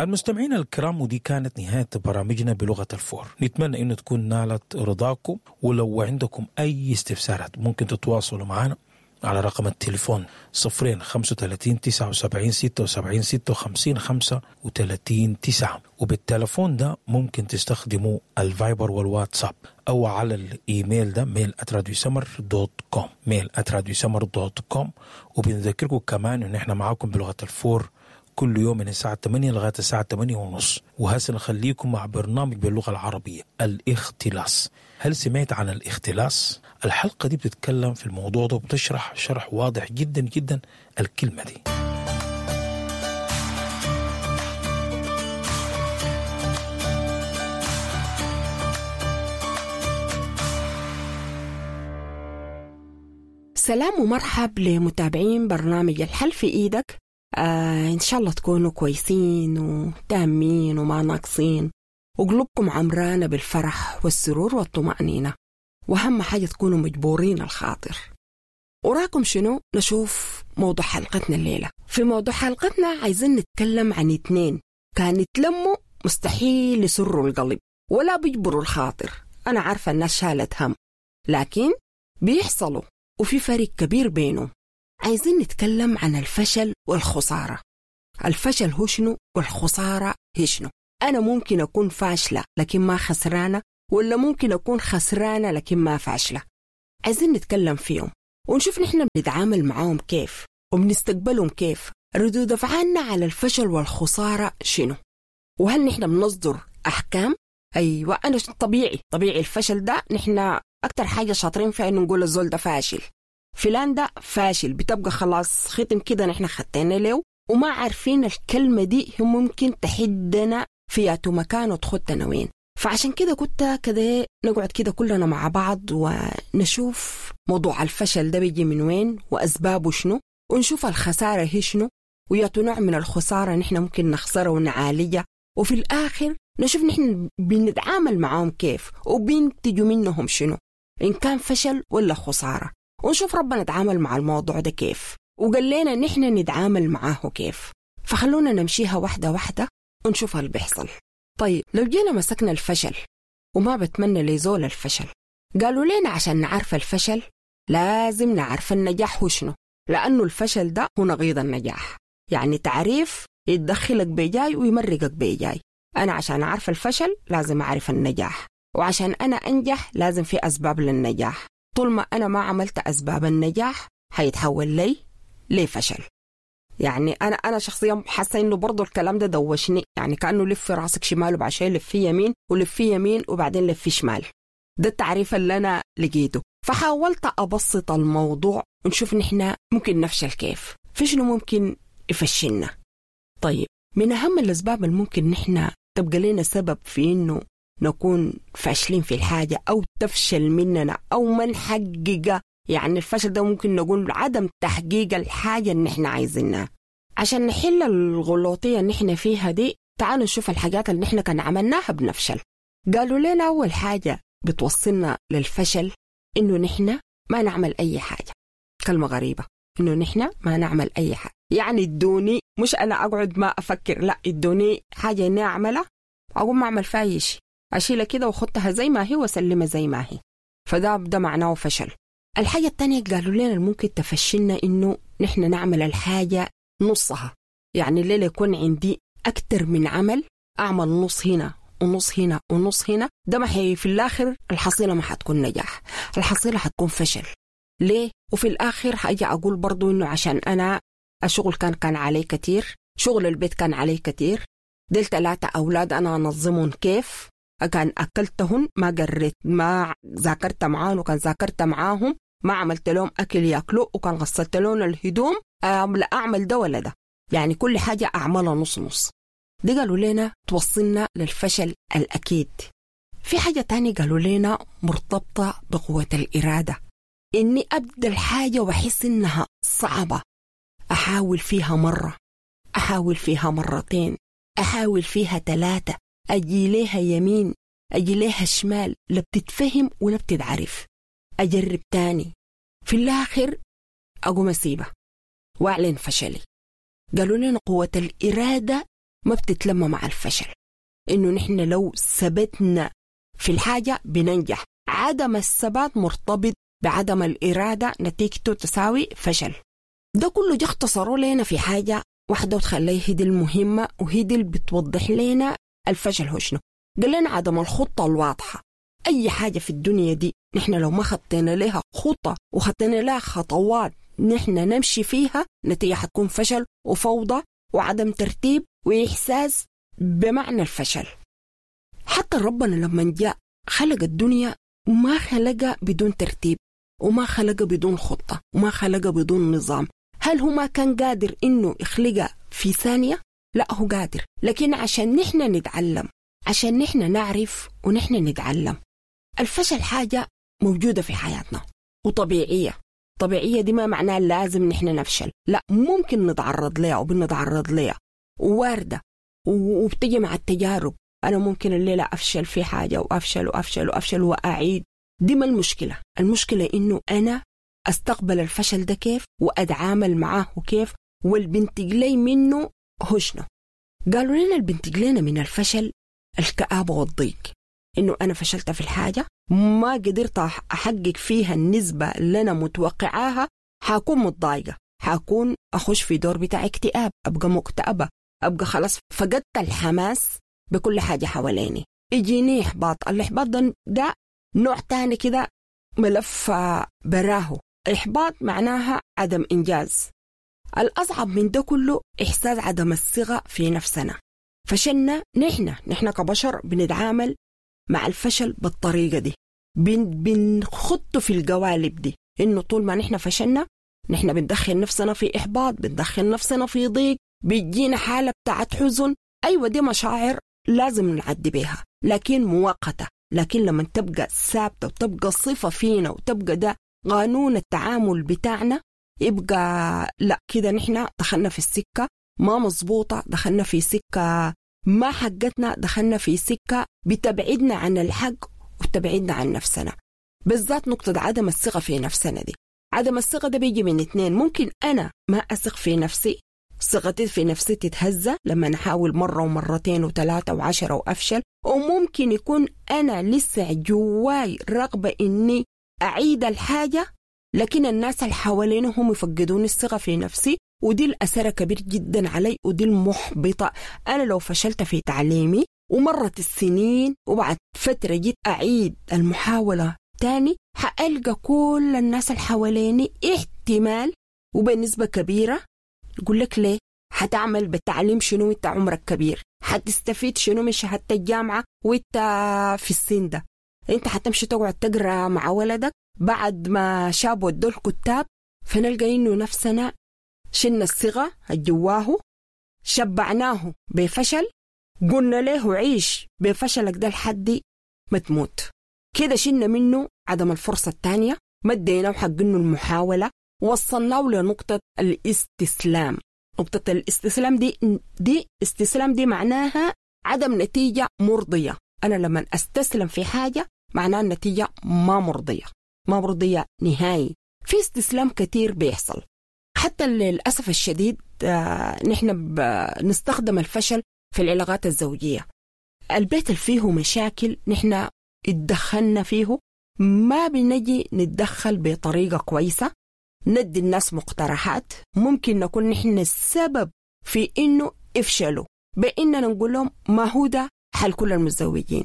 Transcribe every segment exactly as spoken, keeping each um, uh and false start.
المستمعين الكرام، ودي كانت نهاية برامجنا بلغة الفور. نتمنى أن تكون نالت رضاكم، ولو عندكم أي استفسارات ممكن تتواصلوا معنا على رقم التليفون صفرين خمسة وتلاتين تسعة وسبعين ستة وسبعين ستة وخمسين خمسة وتلاتين تسعة. وبالتلفون ده ممكن تستخدموا الفايبر والواتساب، أو على الإيميل ده mail at radio سمر dot com، mail at radio سمر dot com. وبنذكركم كمان إن إحنا معاكم بلغة الفور كل يوم من الساعة تمانية لغاية الساعة تمانية ونص. وهسه نخليكم مع برنامج باللغة العربية، الاختلاس. هل سمعت عن الاختلاس؟ الحلقة دي بتتكلم في الموضوع ده وبتشرح شرح واضح جدا جدا الكلمة دي. سلام ومرحب لمتابعين برنامج الحل في إيدك. آه إن شاء الله تكونوا كويسين وتامين وما ناقصين، وقلوبكم عمرانة بالفرح والسرور والطمأنينة، وأهم حاجة تكونوا مجبورين الخاطر. وراكم شنو؟ نشوف موضوع حلقتنا الليلة. في موضوع حلقتنا عايزين نتكلم عن اتنين كان يتلموا مستحيل يسروا القلب ولا بيجبروا الخاطر. أنا عارفة الناس شالت هم، لكن بيحصلوا وفي فرق كبير بينهم. عايزين نتكلم عن الفشل والخسارة. الفشل هو شنو والخسارة هي شنو؟ أنا ممكن أكون فاشلة لكن ما خسرانة، ولا ممكن أكون خسرانة لكن ما فاشلة؟ عايزين نتكلم فيهم ونشوف نحن بنتعامل معاهم كيف وبنستقبلهم كيف، ردود أفعالنا على الفشل والخسارة شنو، وهل نحن بنصدر أحكام؟ أيوة، أنا طبيعي طبيعي الفشل ده نحن أكتر حاجة شاطرين فيها إنه نقول الزول ده فاشل، فلان ده فاشل، بتبقى خلاص ختم كده نحن خدتنا له وما عارفين الكلمة دي هم ممكن تحدنا في أتو مكان وتخدنا وين. فعشان كده كنت كده نقعد كده كلنا مع بعض ونشوف موضوع الفشل ده بيجي من وين وأسبابه شنو، ونشوف الخسارة هي شنو، وياتو نوع من الخسارة نحن ممكن نخسرها ونعالجها، وفي الآخر نشوف نحن بنتعامل معاهم كيف وبينتجوا منهم شنو، إن كان فشل ولا خسارة، ونشوف ربنا نتعامل مع الموضوع ده كيف وقال لنا نحن نتعامل معاه كيف. فخلونا نمشيها واحدة واحدة ونشوف اللي بيحصل. طيب لو جينا مسكنا الفشل، وما بتمنى لزول الفشل، قالوا لنا عشان نعرف الفشل لازم نعرف النجاح هو شنو، لأنه الفشل ده هو نقيض النجاح. يعني تعريف يتدخلك بجاي ويمرقك بجاي. أنا عشان أعرف الفشل لازم أعرف النجاح، وعشان أنا أنجح لازم في أسباب للنجاح. طول ما أنا ما عملت أسباب النجاح هيتحول لي لفشل. يعني أنا أنا شخصيا حاسة إنه برضو الكلام ده دوشني، يعني كأنه لف في راسك شمال وبعدين لف في يمين ولف في يمين وبعدين لف في شمال. ده التعريف اللي أنا لقيته. فحاولت أبسط الموضوع ونشوف نحن ممكن نفشل كيف، في شنو ممكن يفشلنا. طيب من أهم الأسباب اللي ممكن نحن تبقى لنا سبب في إنه نكون فاشلين في الحاجة أو تفشل مننا أو ما نحقق، يعني الفشل ده ممكن نقول عدم تحقيق الحاجة اللي نحن عايزينها. عشان نحل الغلوطية اللي نحن فيها دي تعالوا نشوف الحاجات اللي نحن كان عملناها بنفشل. قالوا لنا أول حاجة بتوصلنا للفشل إنه نحن ما نعمل أي حاجة. كلمة غريبة، إنه نحن ما نعمل أي حاجة، يعني ادوني، مش أنا أقعد ما أفكر، لا ادوني حاجة إني أعملها أقوم أعمل فيها أي شيء، أشيلها كده وخدتها زي ما هي وأسلمها زي ما هي، فده ده معناه فشل. الحاجة التانية قالوا لنا ممكن تفشلنا إنه نحن نعمل الحاجة نصها، يعني الليلة يكون عندي أكتر من عمل، أعمل نص هنا ونص هنا ونص هنا، ده ما حي في الآخر الحصيلة ما حتكون نجاح، الحصيلة حتكون فشل. ليه؟ وفي الآخر حاجة أقول برضو إنه عشان أنا الشغل كان كان علي كتير، شغل البيت كان علي كتير، ديل ثلاثة أولاد أنا أنظمهم كيف، كان أكلتهن ما قريت ما ذاكرت معاهم، وكان ذاكرت معاهم ما عملت لهم أكل يأكلوا، وكان غسلت لهم الهدوم، لا أعمل ده ولا ده، يعني كل حاجة أعملها نص نص. دي قالوا لنا توصلنا للفشل الأكيد. في حاجة تانية قالوا لنا مرتبطة بقوة الإرادة، إني أبدأ الحاجة وأحس إنها صعبة، أحاول فيها مرة، أحاول فيها مرتين، أحاول فيها ثلاثة، أجي ليها يمين أجي ليها شمال، لا بتتفهم ولا بتتعرف، أجرب تاني، في الآخر أقوم أسيبها وأعلن فشلي. قالوا لنا قوة الإرادة ما بتتلم مع الفشل، إنه نحن لو ثبتنا في الحاجة بننجح. عدم الثبات مرتبط بعدم الإرادة، نتيجته تساوي فشل. ده كله جه اختصروا لنا في حاجة واحدة وتخليه هي دي المهمة وهي دي اللي بتوضح لنا الفشل هو شنو. قال لنا عدم الخطة الواضحة. أي حاجة في الدنيا دي نحن لو ما خطينا لها خطة وخطينا لها خطوات نحن نمشي فيها، نتيجة حتكون فشل وفوضى وعدم ترتيب وإحساس بمعنى الفشل. حتى ربنا لما جاء خلق الدنيا ما خلقها بدون ترتيب، وما خلقها بدون خطة، وما خلقها بدون نظام. هل هو ما كان قادر إنه يخلقها في ثانية؟ لا، هو قادر، لكن عشان نحن نتعلم، عشان نحن نعرف ونحن نتعلم. الفشل حاجة موجودة في حياتنا وطبيعية. طبيعية دي ما معناها لازم نحن نفشل، لا، ممكن نتعرض لها وبنتعرض لها وواردة وبتجي مع التجارب. أنا ممكن الليلة أفشل في حاجة وأفشل وأفشل وأفشل وأعيد، دي ما المشكلة. المشكلة إنه أنا أستقبل الفشل ده كيف وأتعامل معاه كيف، والبنتج لي منه هو شنو. قالوا لنا البنتج لنا من الفشل الكآبة والضيق، إنه أنا فشلت في الحاجة ما قدرت أحقق فيها النسبة اللي أنا متوقعاها، حاكون متضايقة، حاكون أخش في دور بتاع اكتئاب، أبقى مكتئبة، أبقى خلاص فقدت الحماس بكل حاجة حواليني، يجيني إحباط. الإحباط ده, ده نوع تاني كده، ملف براهو. إحباط معناها عدم إنجاز. الأصعب من ده كله إحساس عدم الثقة في نفسنا. فشلنا نحن نحن كبشر بنتعامل مع الفشل بالطريقة دي، بن بنخط في القوالب دي، إنه طول ما نحن فشلنا نحن بندخل نفسنا في إحباط، بندخل نفسنا في ضيق، بيجينا حالة بتاعت حزن. أيوة دي مشاعر لازم نعدي بيها، لكن مؤقتة. لكن لما تبقى ثابتة وتبقى صفة فينا وتبقى ده قانون التعامل بتاعنا، يبقى لا كده نحن دخلنا في السكة ما مظبوطة، دخلنا في سكة ما حقتنا، دخلنا في سكة بتبعدنا عن الحق وتبعدنا عن نفسنا. بالذات نقطة عدم الثقة في نفسنا دي. عدم الثقة ده بيجي من اتنين، ممكن أنا ما أثق في نفسي، ثقتي في نفسي تتهزأ لما نحاول مرة ومرتين وثلاثة وعشرة وأفشل، وممكن يكون أنا لسه جواي رغبة إني أعيد الحاجة، لكن الناس اللي حواليني هم يفقدوني الثقة في نفسي، ودي الأثر كبير جدا علي ودي المحبطة. أنا لو فشلت في تعليمي ومرت السنين وبعد فترة جيت أعيد المحاولة تاني، حألقى كل الناس اللي حواليني احتمال وبنسبة كبيرة يقول لك ليه؟ حتعمل بالتعليم شنو وانت عمرك كبير؟ حتستفيد شنو من شهادة الجامعة وانت في السن ده؟ انت حتمشي تقعد تقرأ مع ولدك بعد ما شابوا ودوا الكتاب. فنلقى انه نفسنا شلنا الصيغة الجواه، شبعناه بفشل، قلنا له عيش بفشلك ده لحد ما تموت كده. شلنا منه عدم الفرصة الثانية، مديناه حق انه المحاولة، وصلناه لنقطة الاستسلام. نقطة الاستسلام دي دي استسلام دي معناها عدم نتيجة مرضية. أنا لما أستسلم في حاجة معناها النتيجة ما مرضية، ما مرضية نهائي. في استسلام كتير بيحصل، حتى للأسف الشديد آه نحن بنستخدم الفشل في العلاقات الزوجية. البيت اللي فيه مشاكل نحن اتدخلنا فيه، ما بنجي نتدخل بطريقة كويسة، ندي الناس مقترحات، ممكن نكون نحن السبب في إنه افشلوا، بإننا نقول لهم ما هو ده حل كل المتزوجين.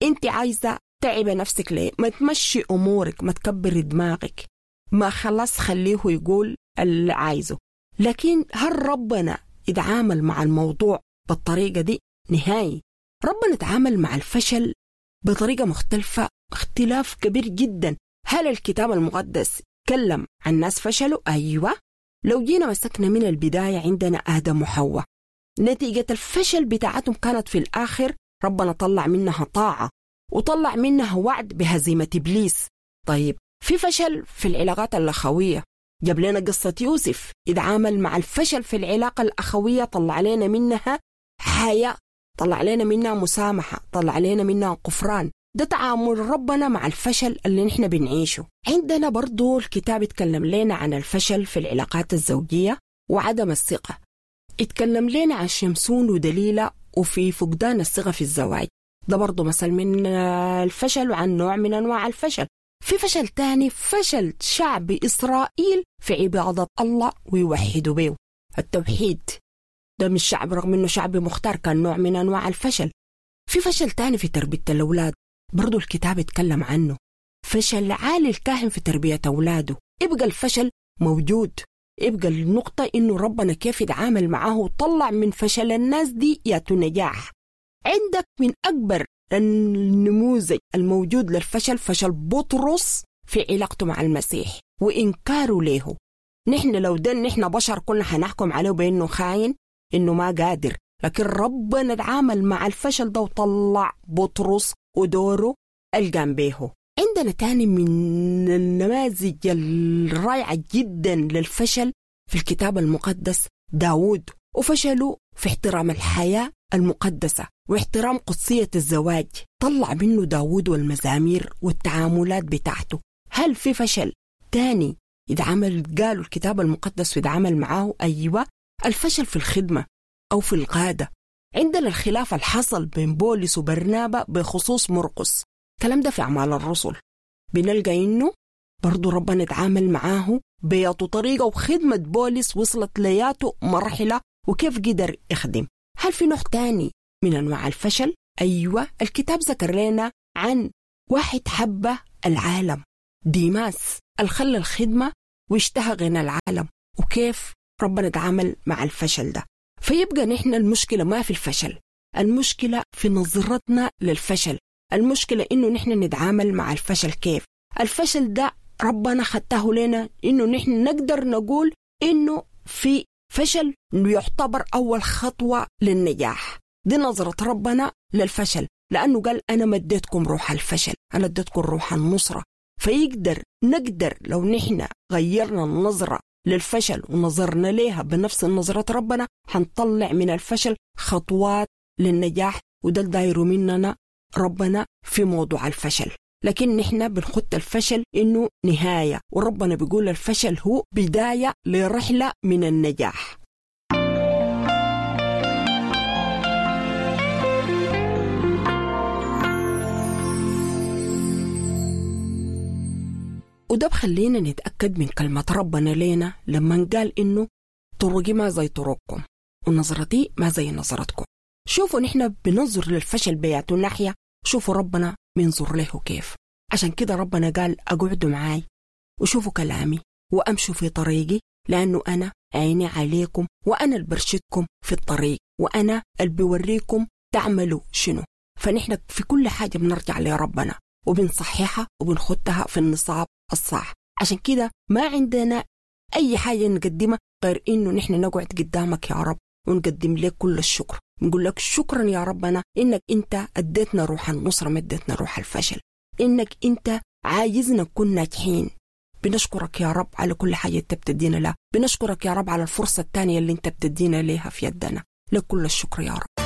أنت عايزة تعب نفسك ليه؟ ما تمشي أمورك، ما تكبر دماغك، ما خلاص خليه يقول اللي عايزه. لكن هل ربنا يتعامل مع الموضوع بالطريقة دي؟ نهائي. ربنا تعامل مع الفشل بطريقة مختلفة، اختلاف كبير جدا. هل الكتاب المقدس تكلم عن ناس فشلوا؟ أيوة. لو جينا مسكنا من البداية عندنا آدم وحواء، نتيجة الفشل بتاعتهم كانت في الآخر ربنا طلع منها طاعة وطلع منها وعد بهزيمة إبليس. طيب في فشل في العلاقات الأخوية، جاب لنا قصة يوسف، اتعامل مع الفشل في العلاقة الأخوية، طلع لنا منها حياة، طلع لنا منها مسامحة، طلع لنا منها غفران. ده تعامل ربنا مع الفشل اللي نحن بنعيشه. عندنا برضو الكتاب يتكلم لنا عن الفشل في العلاقات الزوجية وعدم الثقة. اتكلم لنا عن شمسون ودليلة وفي فقدان الثقة في الزواج، ده برضو مثل من الفشل وعن نوع من أنواع الفشل. في فشل تاني، فشل شعب إسرائيل في عبادة الله ويوحدوا به، التوحيد ده من الشعب رغم إنه شعب مختار كان نوع من أنواع الفشل. في فشل تاني في تربية الأولاد، برضو الكتاب اتكلم عنه، فشل عالي الكاهن في تربية أولاده. يبقى الفشل موجود، يبقى النقطة إنه ربنا كيف يتعامل معاه وطلع من فشل الناس دي ياتو نجاح. عندك من أكبر النموذج الموجود للفشل فشل بطرس في علاقته مع المسيح وإنكاره له. نحن لو ده نحن بشر كنا حنحكم عليه بأنه خاين، إنه ما قادر، لكن ربنا تعامل مع الفشل ده وطلع بطرس ودوره القام به. عندنا تاني من النماذج الرائعة جدا للفشل في الكتاب المقدس داود، وفشله في احترام الحياة المقدسة واحترام قدسية الزواج. طلع منه داود والمزامير والتعاملات بتاعته. هل في فشل تاني يتعامل قالوا الكتاب المقدس ويتعامل معاه؟ أيوة، الفشل في الخدمة أو في القادة. عندنا الخلاف الحصل بين بولس وبرنابا بخصوص مرقس، الكلام ده في أعمال الرسل، بنلقى إنه برضو ربنا اتعامل معاه بياته طريقة، وخدمة بولس وصلت لياته مرحلة وكيف قدر يخدم. هل في نوع تاني من أنواع الفشل؟ أيوة، الكتاب ذكر لنا عن واحد حب العالم، ديماس، الخلى الخدمة واشتهى غنى العالم، وكيف ربنا اتعامل مع الفشل ده. فيبقى نحن المشكلة ما في الفشل، المشكلة في نظرتنا للفشل، المشكلة إنه نحن نتعامل مع الفشل كيف. الفشل ده ربنا خدته لنا إنه نحن نقدر نقول إنه في فشل يعتبر أول خطوة للنجاح. دي نظرة ربنا للفشل، لأنه قال أنا ما اديتكم روح الفشل، أنا اديتكم روح النصرة. فيقدر نقدر لو نحن غيرنا النظرة للفشل ونظرنا ليها بنفس نظرة ربنا حنطلع من الفشل خطوات للنجاح، وده الداير مننا ربنا في موضوع الفشل. لكن نحن بنخط الفشل إنه نهاية، وربنا بيقول الفشل هو بداية لرحلة من النجاح. وده بخلينا نتأكد من كلمة ربنا لينا لما قال إنه طرقي ما زي طرقكم ونظرتي ما زي نظرتكم. شوفوا نحن بننظر للفشل بياته ناحية، شوفوا ربنا بينظر له كيف. عشان كده ربنا قال أقعدوا معاي وشوفوا كلامي وأمشوا في طريقي، لأنه أنا عيني عليكم وأنا اللي برشدكم في الطريق وأنا اللي بوريكم تعملوا شنو. فنحن في كل حاجة بنرجع لربنا وبنصححها وبنخدها في النصاب الصح. عشان كده ما عندنا أي حاجة نقدمها غير إنه نحن نقعد قدامك يا رب ونقدم لك كل الشكر، نقول لك شكرا يا ربنا إنك أنت أديتنا روح النصرة ما أديتنا روح الفشل، إنك أنت عايزنا نكون ناجحين. بنشكرك يا رب على كل حاجة أنت بتدينا لها، بنشكرك يا رب على الفرصة الثانية اللي أنت بتدينا لها في يدنا، لك كل الشكر يا رب.